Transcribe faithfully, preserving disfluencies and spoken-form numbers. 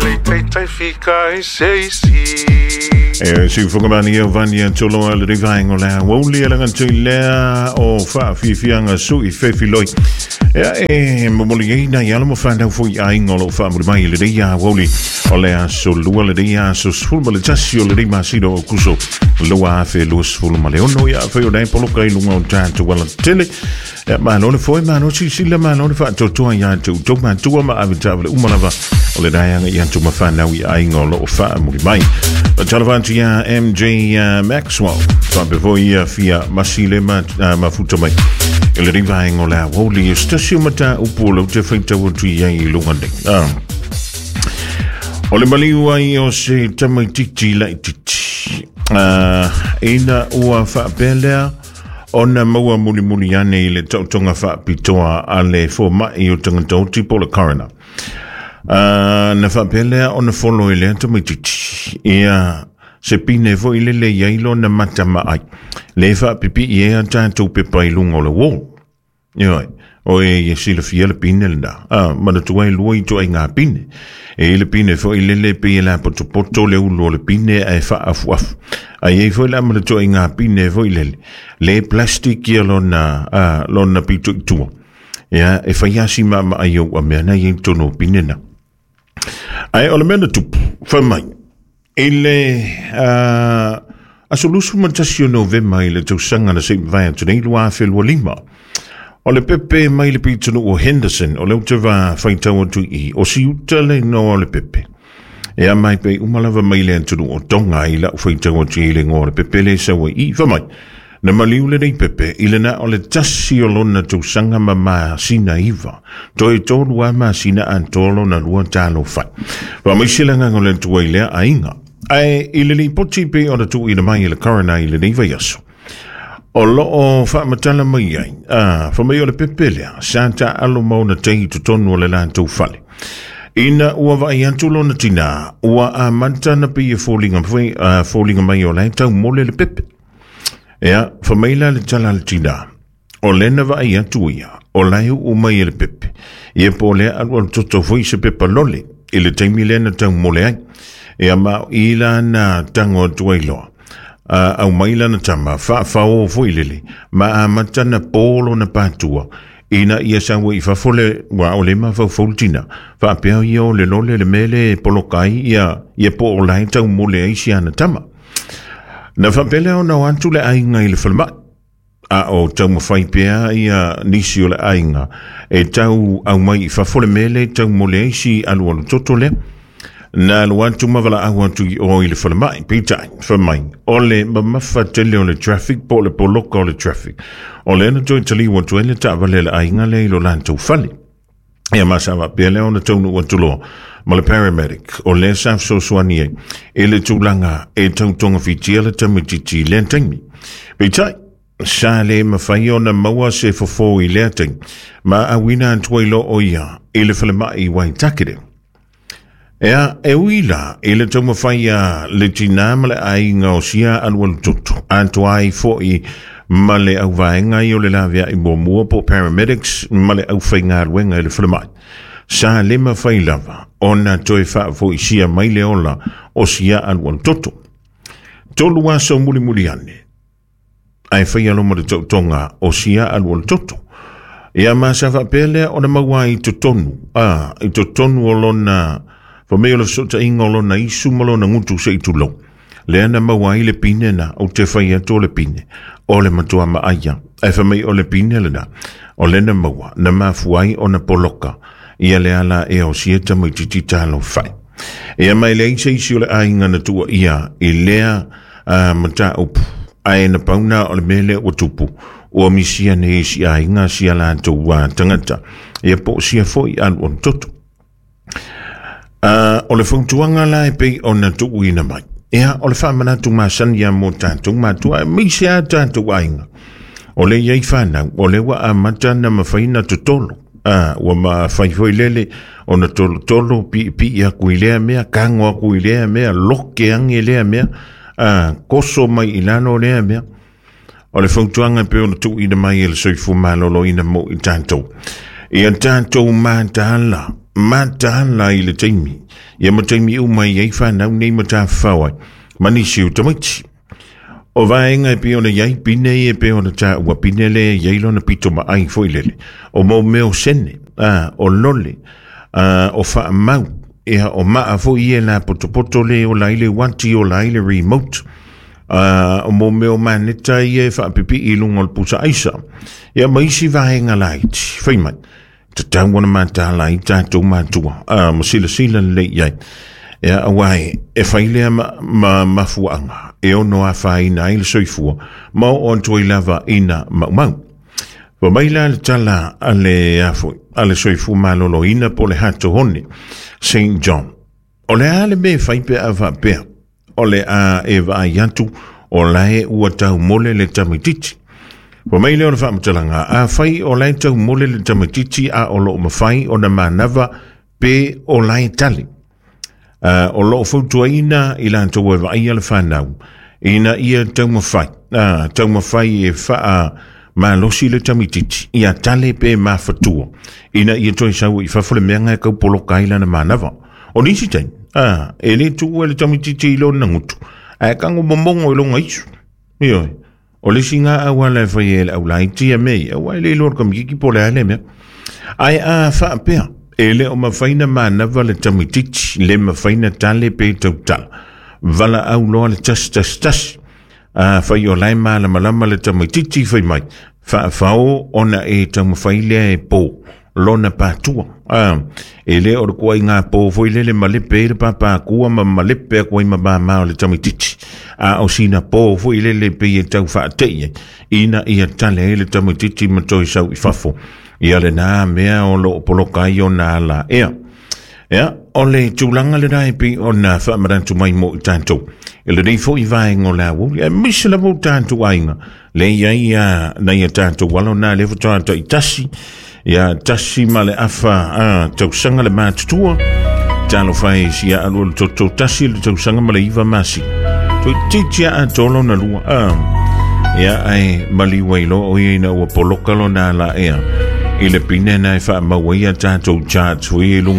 le taitai fika e seisi. E si whangamani e vani a tolo a le rivaengo lea Wauli e langa tui lea o whaafifianga sui fefiloi. Ea e momoli ei na iala mo whanau fui a ingo lo whaamuri mai le rea wauli. O lea so lua le rea so sfulu ma le tasi o le rima siro o kuso. Lua afe lua sfulu ma le ono ia awhi o nei poloka i lunga o tātu wala tele. Ia malo le foi malo si sila malo le whaatotoa ia atu tau matua ma awitawale umalava. O le raianga i atu mawhanau i a ingo lo o whaamuri mai. Talavantu ia M J Maxwell. Whapefo ia fia masile ma, uh, mafuta mai. I le rivaengo lea wauli e stasio mata upu lau te whaitau atu ia i lunga nei. Ah. O le maliu ai o se tamaititi lai titi. Uh, ina ua whaapelea ona maua mulimuli ane i le tautonga whaapitoa a le fōmai o tangata oti po le coroner. Uh, na whaapelea ona folo i lea tamaititi. Ia se pine fo i lele iai lo na mata maai. Le whaapipi i ea tātou pepa i lunga o le wall. Ioi, o e ia silafia le pine le nā. Ah, mana tuai lua i toa i ngā pine. E i le pine fo i lele pe i la potopoto le ulu o le pine a e whaafu afu. A iei fo i la mana tuai ngā pine fo i lele. Le plastic ia lona, ah, lona pito i tua. Ia, e whaiasi maa maa iau a mea na iei tono pine na. Ai, o le mea na tupu, whamai. I le uh, asolusu matasi o Novema i le tausanga na se mvaia tunei lua awhelua lima. O le pepe mai le pitunu o Henderson, o le utawa whaitau atu i, o si uta le noa o le pepe. E a mai pe umalava mai le antunu o Tonga i la whaitau atu i le ngoa le pepe le sawa i whamai. Na maliu le nei pepe, i le na o le tasi o lona tausanga ma maasina iwa. Toi tolu a maasina antolo na lua talo whai. Whamaisila nganga le tua i lea ainga. Ai i le lipoti pe o na tuu ina mai i le coroner i le nei vaiaso. O loo whaamatala mai ai, ah, whamai o le pepe lea, sa ta alo mauna tei totonu o le lātou fale. Ina ua vai atu lona tina, ua amata na pia fōlinga, uh, fōlinga mai o lai tau mole le pepe. Ea, whamai la le tala le tina, o lena vai atu ia, o lai u mai e le pepe. Ia po lea alu alu toto foi se pepa lole, i le taimi lena tau mole ai. Ea ma i la na tango atu ai loa. Uh, au mai lana tama, whaawhao foi lele, ma amata na pōlo na pātua, ina ia sawa i whafole, wa o le mawhaufaulutina, whaapea ia o le lole le mele polokai, ia, ia po o lai tau mole ai si ana tama. Na whapele o na atu le ainga i le whalamai, a o tau mawhai pea ia nisi o le ainga, e tau au mai i whafole mele tau mole ai si alu alu toto lea. Na alu atu mawala au atu i o i le whalamai, peitai, whamai, o le mamafa tele o le traffic, po le poloka o le traffic. O le ana toi tali watu ele ta wale le ainga le ilo lantou fale. Ia masawa pea leo na taunu atu loa, ma le paramedic, o le saf sosoani e, e le tūlanga e tautonga fitia le tamititi le taimi. Peitai, sa le mawhai o na maua se fofo i lea taimi, ma awina antua ilo o ia, i le whalamai waitakere. Ea, e uila, i le taumawhai a le tina ma le ainga o sia alualu toto. Antua ai foi ma le auvaenga i o le lavea i muamua po paramedics ma le auwhainga aluenga i le whalamai. Sa le mawhai lava, o na toi whaafoi sia mai le ola o sia alualu toto. Tolu aso mulimuli ane, ai whai alo ma le tautonga o sia alualu toto. Ia masa whapelea o na maua i totonu, a, i totonu o lona... Whamei o le sota inga o lona isu ma lona ngutu se i tulo. Lea na maua ai le pine na o te whai atu o le pine. O le matua maaia. E whamei o le pine le na. O lena maua na mafuai o na poloka. Ia le ala e o sieta mai titi talo whai. Ia mai le eisa isi o le ainga na tua ia i lea uh, mata upu. Ae na pauna o le mele o tupu. O misia ne isi ainga sia la tua tangata. Ia po sia foi alu on toto. Uh, o le whautuanga la e pei o na tuuina mai. Ea, o le whaamanatu masani a mō tātou mātua, e meise a tātou ainga. O le iei whanau, o le wa amata na mawhaina totolo. Ah, ua ma whaiwhai lele, o na tolo tolo, pi pi a kui lea mea, kango a kui lea mea, loke ange lea mea, ah, koso mai ilano lea mea. O le whautuanga e pei o na tuuina mai e le soifu malolo ina mō i tātou. Ia tātou mātāla, Mataala i le taimi. Ia ma taimi uma i ai whanau nei ma tāwhawai. Manisi o tamaiti. O vaenga e pei ona iai pine e pei ona tāua pine le iai lona pito ma ai foi lele. O mau meo sene, a, o lole, a, o whaamau, ia o maa foi e la potopoto le o la ile wanti o la ile remote. A, o mau meo maneta ia e whaapipi i lunga o le pusa aisa. Ia maisi vaenga laiti, whai mai. Te tau ona mātāla i tātou mātua. A, ma sila sila le iai. Ia awai, e whailea ma, ma mafuanga. E ono a whaina ai le soifua. Ma o antoi lava ina maumau. Wa mai la le tala a le afoi, a le soifua malolo ina po le hato hone, Saint John. O le a le me whaipe a whapea. O le a e vaai atu, o lae ua tau mole le tamititi. Wa mai leo na whaamatalanga, a whai o lae tau mole le tamititi a o loo mawhai o na manava pe o lae tali. Uh, o loo fautuaina i lantou e vaai a le whanau. Ina ia taumawhai. Uh, taumawhai e whaa malosi le tamititi. Ia tale pe mawhatua. Ina ia toi sau i fafo le meanga e kaupoloka i lana manava. O nisi taimi, uh, e le tuu e le tamititi i lona ngutu. A kango momongo i longa isu. Ioi. O le singa awala e whai e le aulai tia mei. Awa e le lor kamikiki po le ale mea. Ai a whaapea. E le o mawhaina manava le tamititi, le mawhaina tale pe tautala. Vala au loa le tas tas tas. A whai o lai maa malama le tamititi whai mai. Whaawhao ona e taumawhai lea e pō. Lona pātua. A, e le o le kua i ngā pō foi lele malepe e le pāpākua ma malepe a kua i mabāmā o le tamititi. A o sina pō foi lele pe e tau whaatei. Ina ia tale e le tamititi ma toi sau i fafo. Ia le nā mea o lo poloka i o nā la ea. Ea, o le tūlanga le rai pi o nā whaamarantu mai mo i tātou. E le nei fo i vaengo la wuli, e misa la mo tātou ainga. Le ia ia nei a tātou walo nā le whatoa i tasi. Ia tasi ma le awha a tausanga le mātutua. Talo whai si a alu le toto tasi le tausanga ma le iwa masi. Toi titia a tolo na lua. A, ia ai maliwa ilo o ia ina ua poloka lo nā la ea. I le pine nai wha maua ia tātou charts hui e lunga